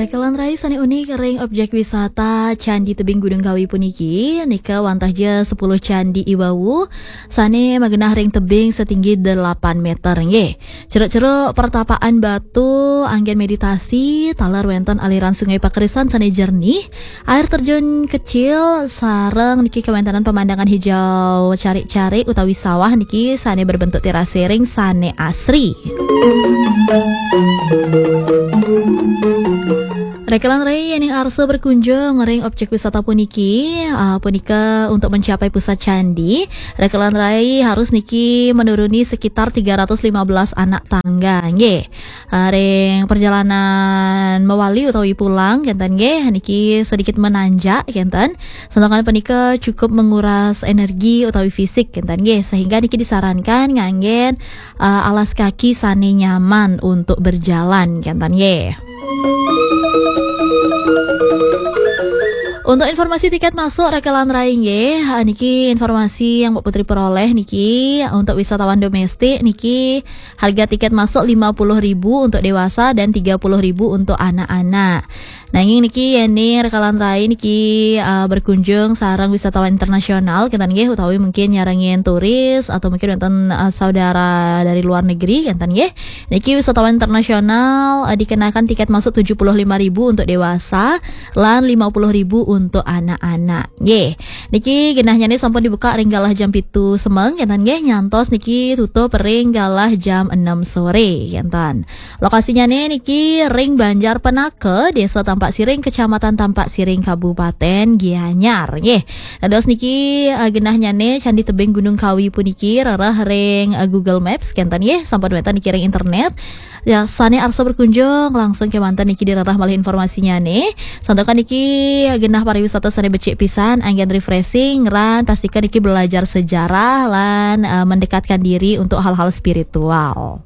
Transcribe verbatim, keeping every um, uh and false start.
Rekelan rai sane unik ring objek wisata Candi Tebing Gunung Kawi puniki, nika wantah ja sepuluh candi i wau, sane magenah ring tebing setinggi delapan meter nggih. Ceruk-ceruk pertapaan batu anggen meditasi, taler wenten aliran sungai pakerisan sane jernih, air terjun kecil, sareng niki kawentenan pemandangan hijau carik-carik utawi sawah niki sane berbentuk terase ring sane asri. Rekelan rai yening arsa berkunjung ring objek wisata puniki, ah, punika untuk mencapai pusat candi, rekelan rai harus niki menuruni sekitar tiga ratus lima belas anak tangga, nggih. Ah, ring perjalanan mewali utawi pulang, kenten nggih, niki sedikit menanjak, kenten. Santakan punika cukup menguras energi utawi fisik, kenten nggih, sehingga niki disarankan nganggen, ah, alas kaki sane nyaman untuk berjalan, kenten nggih. Untuk informasi tiket masuk rekelan rai nggih, ah, niki informasi yang Mbak Putri peroleh niki untuk wisatawan domestik niki harga tiket masuk lima puluh ribu untuk dewasa dan tiga puluh ribu untuk anak-anak. Nanging niki yening rekelan rai niki, ah, berkunjung sareng wisatawan internasional kenten nggih, utawi mungkin nyarengin turis atau mungkin wenten, ah, saudara dari luar negeri kenten nggih. Niki wisatawan internasional, eh, dikenakan tiket masuk tujuh puluh lima ribu untuk dewasa lan lima puluh ribu untuk anak-anak. Nggih. Niki genahnyane sampun dibuka ring galah jam pitu semeng, kenten nggih, nyantos niki tutup ring galah jam enam sore, kenten. Lokasinyane niki ring Banjar Penaka, Desa Tampak Siring, Kecamatan Tampak Siring, Kabupaten Gianyar, nggih. Dados niki, eh, genahnyane Candi Tebing Gunung Kawi puniki rereh ring, eh, Google Maps, kenten nggih, sampun wenten niki ring internet. Ya, sane arsa berkunjung langsung kemanten niki direreh malih informasinyane. Santakan niki genah pariwisata sane becik pisan, anggen refreshing, lan pastikan niki belajar sejarah lan, eh, mendekatkan diri untuk hal-hal spiritual.